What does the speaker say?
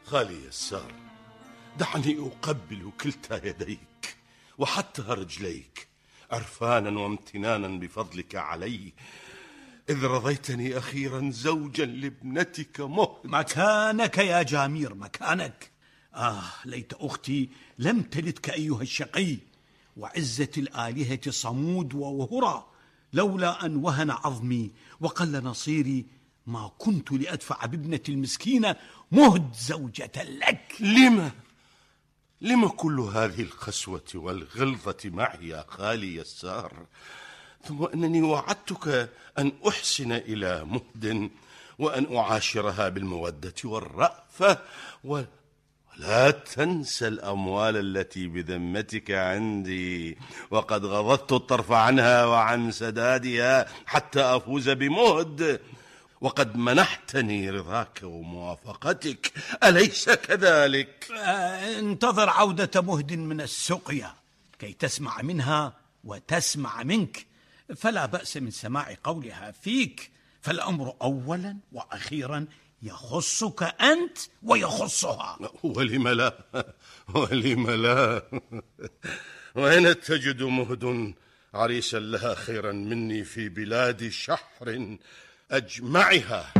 خالي يسار، دعني أقبل كلتا يديك وحتى رجليك، عرفانا وامتنانا بفضلك علي، إذ رضيتني أخيرا زوجا لابنتك مهد. مكانك يا جامير، مكانك. ليت أختي لم تلدك أيها الشقي، وعزة الآلهة صمود ووهرة، لولا أن وهن عظمي وقل نصيري ما كنت لأدفع بابنة المسكينة مهد زوجة لك. لما كل هذه القسوة والغلظة معي يا خالي يسار؟ ثم أنني وعدتك أن أحسن إلى مهد وأن أعاشرها بالمودة والرأفة، ولا تنسى الأموال التي بذمتك عندي، وقد غضضت الطرف عنها وعن سدادها حتى أفوز بمهد، وقد منحتني رضاك وموافقتك، أليس كذلك؟ انتظر عودة مهد من السقيا كي تسمع منها وتسمع منك، فلا بأس من سماع قولها فيك، فالأمر أولا وأخيرا يخصك أنت ويخصها. ولم لا؟ ولم لا؟ وأين تجد مهد عريسا لها خيرا مني في بلاد شحر أجمعها؟